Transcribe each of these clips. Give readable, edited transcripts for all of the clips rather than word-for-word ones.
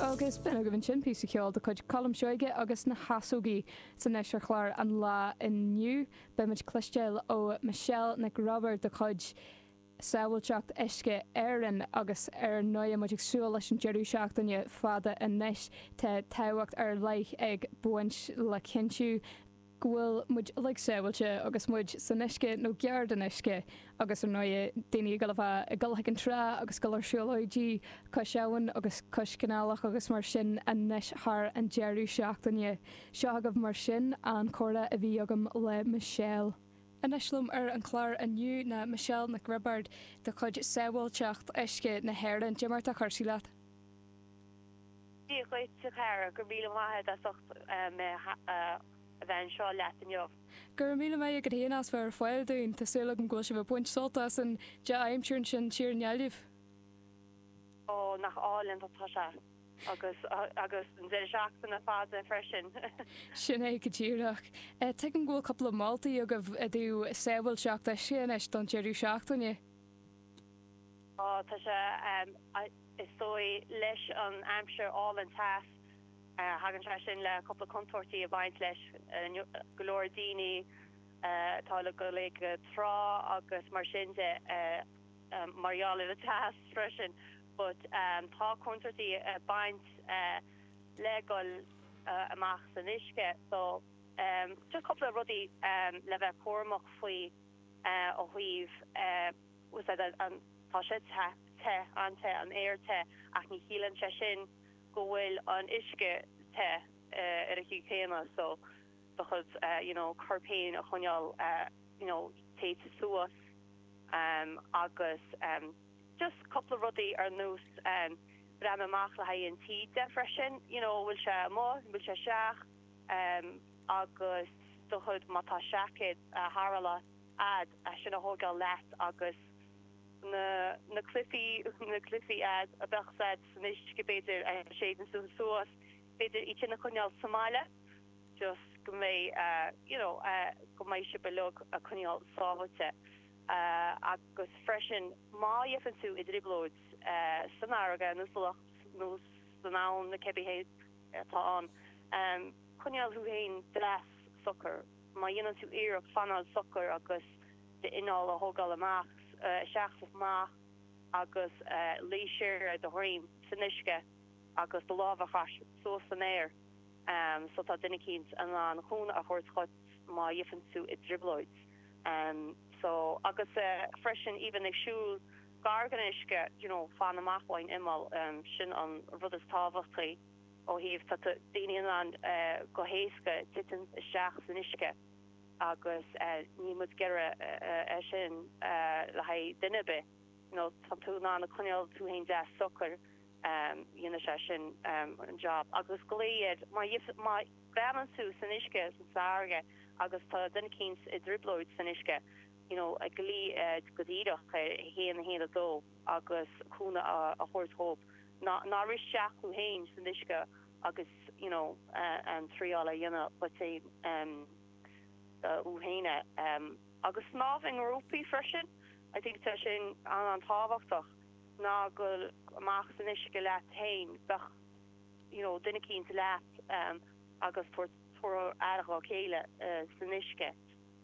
Agus b'in agaibh ansin píosa ceoil de chuid Colm Seoige agus na hEasógaí. 'S anois ar chlár an lae inniu, beimid ag cloisteáil ó Michelle Nic Roibeaird de chuid Sábháilteacht Uisce Éireann agus ar ndóigh muid ag súil leis an deireadh seachtaine fada anois, tá tábhacht ar leith ag baint le cinntiú go bhfuil muid uilig sábháilte agus muid san uisce nó gar don uisce agus ar ndóigh daoine ag dul a bheith ag dul chuig an trá agus dul ar siúlóidí cois abhann agus cois canálach agus mar sin anois thar an deireadh seachtaine. Seo agaibh mar sin an comhrá a bhí agam le Michelle. Anois liom ar an chlár inniu ná Michelle Nic Roibeaird de chuid Sábháilteacht Uisce na hÉireann. Cad é mar atá cúrsaí leat? Dia dhuit, a chara. Go raibh míle maith agat as ucht mé a bheith anseo leat inniu. Go raibh míle maith agat féin as bheith ar fáil dúinn. Tá súil agam go bhfuil sibh ag baint sult as an dea-aimsir ansin thiar i nGaillimh. Ó, nach álainn atá sé. Agus, agus an deireadh seachtaine fada freisin. Sin é go díreach. Tuigim go bhfuil cúpla moltaí agaibh i dtaobh sábháilteacht uisce anois don deireadh seachtaine. Tá, tá sé, is dóigh, leis an aimsir álainn teas, thagann sé sin le cúpla contúirtí ag baint leis. Go leor daoine atá ag dul ag an trá agus mar sin de, mar gheall ar an teas freisin. But tá contúirtí ag baint le dhul amach san uisce so just cúpla rudaí le bheith cúramach faoi ó thaobh, Tá sé te, te, an-te, an aer te, ach ní chiallaíonn sé sin go bhfuil an uisce te ar an chaoi chéanna so do chuid you know corp féin a choinneáil you know téite suas agus just cúpla rudaí ar nós breathnú amach le haghaidh an taoide freisin you know bhfuil sé amuigh, bhfuil sé isteach agus do chuid má tá seaicéad tarrthála a'd é sin a thógáil leat agus na na cluichí na cluichí a'd a bheadh a'd san uisce b'fhéidir a séideann suas b'fhéidir iad sin a choinneáil sa mbaile just go mbeidh you know go mbeidh sibh uilig ag coinneáil sábháilte agus freisin má gheibheann tú i dtrioblóid san fharraige nó sa loch nó san abhainn nó cibé atá ann coinneáil thú féin deas socair. Má dhéanann tú iarracht fanáil socair agus d'anáil a thógáil amach, isteach is amach agus luí siar ar do dhroim san uisce agus do lámha a chur suas san aer so tá duine eicínt in ann cúnamh a thabhairt dhuit má gheibheann tú i dtrioblóid. So agus freisin even ag siúl gar don uisce you know fan amach ón imeall sin an rud is tábhachtaí. ó thaobh tá daoine in ann go héasca titim isteach san uisce agus níl muid ag iarraidh é sin le haghaidh duine ar bith. You know tá tú in ann a coinneáil tú féin deas socair, dhéanfaidh sé sin an job. Agus glaoigh ar, má má bhreathnaíonn tú san uisce, san fharraige agus tá duine eicínt i dtrioblóid san uisce, you know glaoigh go díreach ar 1 1 2 agus cúnamh a thabhairt dhóibh. Ná rith isteach thú fhéin san uisce agus you know an triáil a dhéanamh dhuit fhéin thú fhéin agus snámh i ngrúpaí freisin I think tá sin an-an-tábhachtach ná gabh amach san uisce leat fhéin bheadh you know duine eicínt leat agus tabhairt aire dhá chéile san uisce.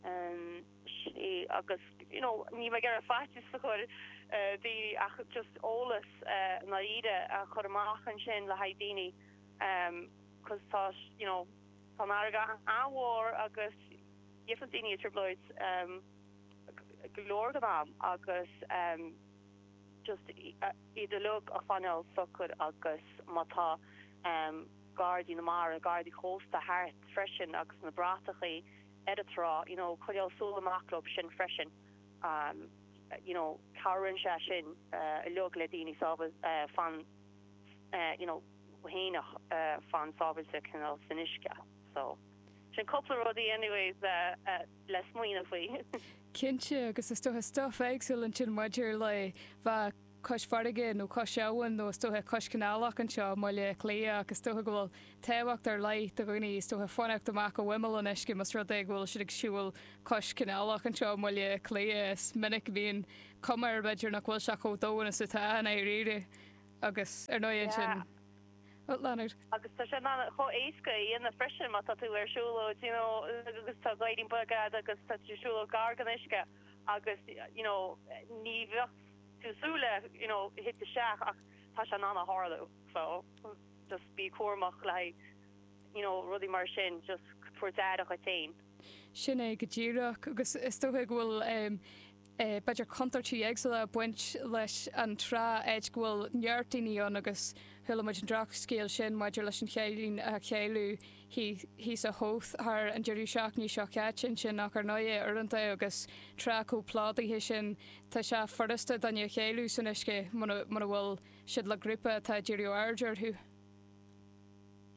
Sin agus you know níl mé ag iarraidh faitíos a chur ar daoine ach just eolas i ndáiríre a chur amach ansin le haghaidh daoine cos tá you know tá an fharraige an-mhór agus gheibheann daoine i dtrioblóid go leor den am agus just iad uilig a choinneáil socair agus má tá Gardaí na Mara, Gardaí Cósta thart freisin agus na bratachaí ar an trá, you know, coinneáil súil amach leo sin freisin, you know, cabhraíonn sé sin uilig le daoine sábháil, fan, you know, fhéineach, fan sábháilte cineál san uisce. So, sin cúpla rudaí anyways le smaoineamh faoi. Cinnte, agus is dócha stuif éagsúil ansin maidir le bheith cois farraige nó cois abhann nó is dócha cois canálach anseo i mBaile Átha Cliath ach is dócha go bhfuil tábhacht ar leith do dhaoine is dócha fanacht amach ó imeall an uisce más rud é go bhfuil siad ag siúl cois canálach anseo i mBaile Átha Cliath. Is minic a bhíonn cuma air b'fhéidir nach bhfuil sé chomh domhain is atá i ndáiríre agus ar ndóigh ansin. Leonard. Agus tá sé in ann chomh éasca a dhéanamh freisin má tá tú ar siúlóid, you know, agus tá gairdín beag agat agus tá tú ag siúlóid gar don uisce agus, you know, ní bheadh tú súil le, you know, thit isteach ach tá sé in ann a tharlú. So, just bí cúramach le haghaidh, you know, rudaí mar sin, just tabhairt aire dhuit féin. Sin é go díreach agus is dócha go bhfuil b'fhéidir contúirtí éagsúla ag baint leis an trá áit go bhfuil neart daoine ann agus chuala muid an drochscéal sin maidir leis an chailín a cailleadh thíos i Howth thar an deireadh seachtaine seo caite ansin ach ar ndóigh uaireanta agus trá chomh plódaithe sin tá sé furasta duine a chailleadh san uisce muna bhfuil siad le grúpa atá ag díriú aird orthu.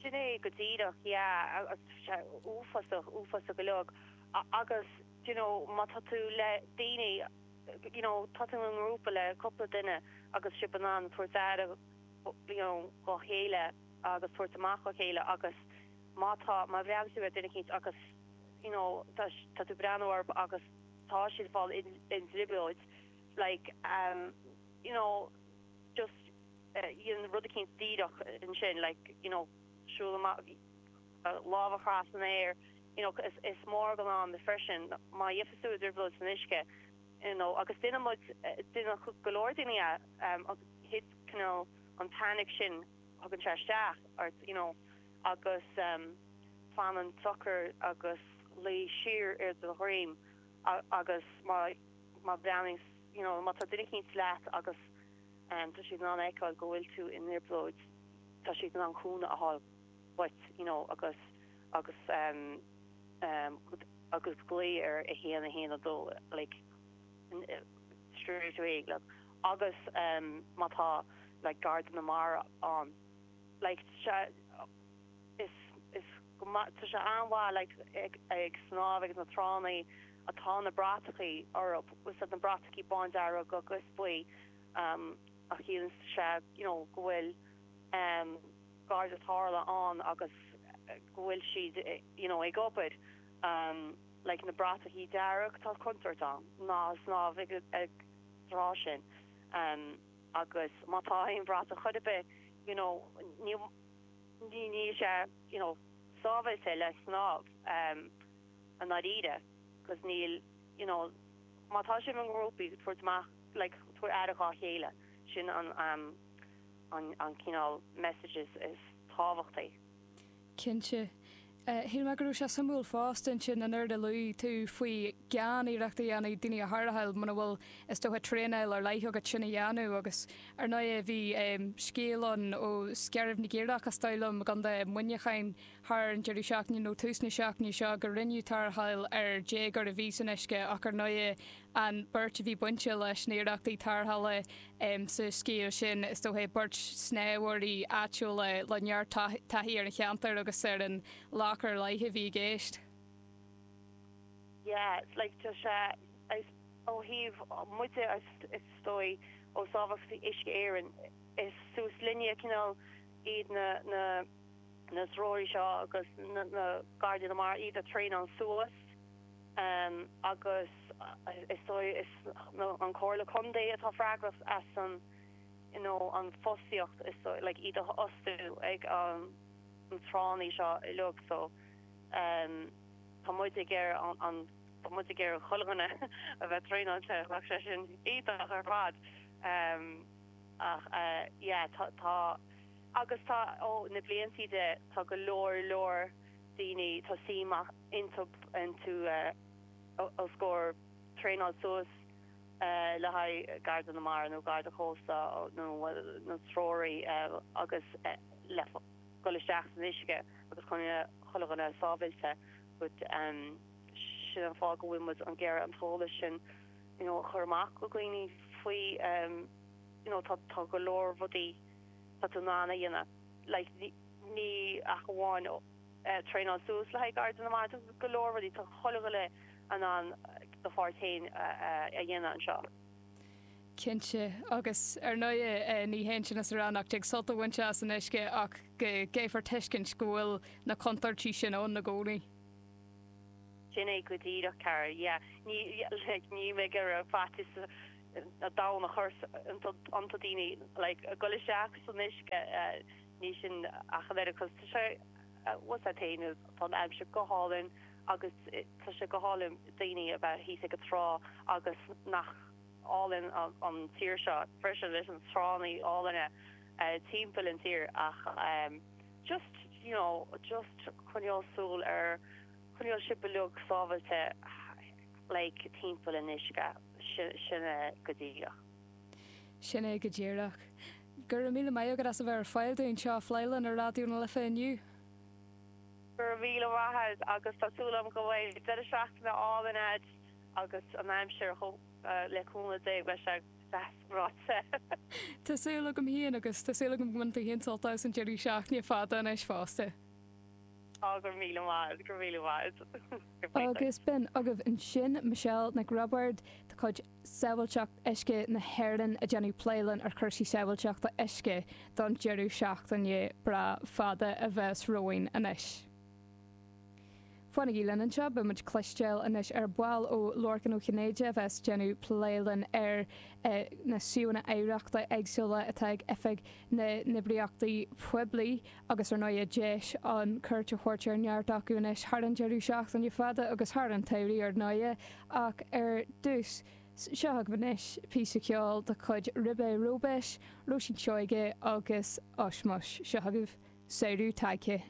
Sin é go díreach, yeah, agus tá sé uafásach, uafásach go leor. Agus, you know, má tá tú le daoine, you know, tá tú i ngrúpa le cúpla duine agus sibh in ann tabhairt aire, you know, dhá chéile agus tabhairt amach dhá chéile agus má tá, má bhreathnaíonn tú ar duine eicínt agus, you know, tá, tá tú ag breathnú orthu agus tá siad ag fáil i dtrioblóid, like, um, you know, just, dhéan rud eicínt díreach ansin, like, you know, siúl amach, lámh a chur san aer, you know, is, is mór den am freisin má gheofas tú i dtrioblóid san uisce, you know, agus déanann muid, déanann go leor daoine é, agus thit cineál an panic sin, thugann sé isteach ort, you know, agus fanann socair agus luí siar ar do dhroim agus má, má bhreathnaíonn, you know, má tá duine eicínt leat agus. tá siad in ann a fheiceáil go bhfuil tú i dtrioblóid, tá siad in ann cúnamh a fháil uait you know agus agus agus glao ar 1 1 2 like straight away like agus má tá like Garda na Mara ann like sé is is go maith tá sé an-mhaith like ag ag snámh ag na tránna atá na bratachaí orthu is iad na bratachaí bándearg agus buí a chiallaíonn sé you know go bhfuil garda tarrthála ann agus go bhfuil siad you know ag obair like na bratachaí dearg tá contúirt ann ná snámh ag ag trá sin agus má tá aon bhratach chor ar bith you know ní ní níl sé you know sábháilte le snámh i ndáiríre 'cause níl you know má tá sibh i ngrúpaí tabhairt amach like tabhair aire dhá chéile sin an an an cineál message is is tábhachtaí. Cinnte. Shíl mé go raibh sé suimiúil fosta ansin an rud a luaigh tú faoi gan iarracht a dhéanamh daoine a tharrtháil muna bhfuil is dócha traenáil ar leith agat sin a dhéanamh agus ar ndóigh bhí scéal ann ó Scairbh na gCaorach is dóigh liom i gContae Mhuineacháin thar an deireadh seachtaine nó tús na seachtaine seo go rinneadh tarrtháil ar déagóir a bhí san uisce ach ar ndóigh an beirt a bhí bainte leis na hiarrachtaí tarrthála sa scéal sin, is dócha, beirt snámhóirí áitiúla le neart taithí ar an cheantar agus ar an loch ar leith a bhí i gceist. Yeah, like tá sé, is ó thaobh muide is dóigh ó Sábháilteacht Uisce Éireann, is suas linne cineál iad na, na, na treoraí seo agus na, na Gardaí na Mara, iad a traenáil suas. agus is dóigh is an Comhairle Contae atá freagrach as an you know an fostaíocht is dóigh like iad a fhostú ag an tránna seo uilig so tá muid ag iarraidh an tá muid ag iarraidh chuile dhuine a bheith traenáilte bheadh sé sin iontach ar fad ach yeah tá tá agus tá ó na bliantaí de tá go leor leor daoine tá suim iontu os comhair traenáil suas le haghaidh Garda na Mara nó Garda Cósta nó nó treoraí agus le dul isteach san uisce agus coinneáil chuile dhuine sábhailte but sin an fáth go bhfuil muid ag iarraidh an t-eolas sin you know a chur amach go dhaoine faoi you know tá tá go leor rudaí tá tú in ann a dhéanamh like ní ach amháin traenáil suas le haghaidh Garda na Mara, tá go leor rudaí, tá chuile dhuine in ann do pháirt féin a dhéanamh anseo. Cinnte, agus ar ndóigh ní hé sin is a rá nach dtig sult a bhaint as an uisce ach go gcaithfear tuiscint go bhfuil na contúirtí sin ann i gcónaí. Sin é go díreach, cara, yeah. Ní, like, níl mé ag iarraidh faitíos an domhain a chur iontu daoine, like, dul isteach san uisce. Ní sin ach an oiread 'cause tá sé, bhfuil a fhios agat féin, tá an aimsir go hálainn agus tá sé go hálainn daoine a bheith thíos ag an trá agus nach álainn an tír seo freisin leis an tránna álainne timpeall an tír ach just you know just coinneáil súil ar, coinneáil sibh uilig sábhailte like timpeall an uisce, sin é go díreach. Sin é go díreach. Go raibh míle maith agat as a bheith ar fáil dúinn anseo ag plé linn ar Raidió na Life inniu. Go raibh míle maith agat agus tá súil agam go mbeidh deireadh seachtaine álainn agat agus an aimsir chomh le cúnamh Dé beidh sé deas breoite. Tá súil agam féin agus tá súil agam go mbainfidh tú féin sult as an deireadh seachtaine fada anois fosta. Á, go raibh míle maith agat, go raibh míle maith agat. Agus b'in agaibh ansin Michelle Nic Roibeaird de chuid Sábháilteacht Uisce na hÉireann ag déanamh plé linn ar chúrsaí sábháilteachta uisce don deireadh seachtaine breá fada a bheas romhainn anois. Fanaigí linn anseo, beidh muid cloisteáil anois ar ball ó Lorcan Ó Cinnéide a bheas déanamh plé linn ar na suíomhanna oidhreachta éagsúla atá ag Oifig na nOibríochtaí Poiblí agus ar ndóigh deis ann cuairt a thabhairt ar neart acu anois thar an deireadh seachtaine fada agus thar an tsamhraidh ar ndóigh ach ar dtús seo agaibh anois píosa ceoil de chuid Ribé Róibéis, Róisín Seoige agus Ushmush. Seo agaibh Samhradh Tagtha.